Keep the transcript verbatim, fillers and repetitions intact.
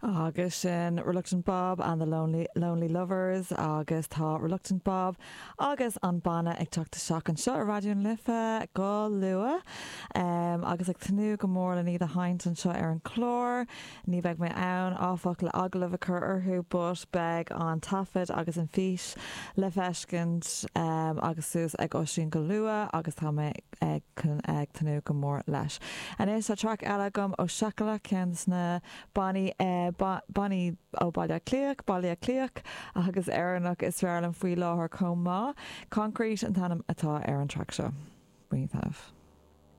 Agus sin Reluctant Bob and the Lonely, Lonely Lovers agus tá Reluctant Bob agus an banna ag teacht isteach anseo ar Raidió na Life go luath um, agus ag tnúth go mór le iad a sheinnt anseo ar an chlár, ní bheidh mé ann áfach le agallamh a chur orthu but beidh an taifead agus an fís le feiscint um, agus suas ag Oisín go luath agus tá mé ag ag tnúth go mór leis. Anois tá track eile agam ó Shakalak ceann na bannaí eh, bannaí ó Baile Cliach, Baile Cliach agus Éireannach is fearr liom faoi láthair chomh maith. Concrete an t-ainm atá ar an track seo. Bígí.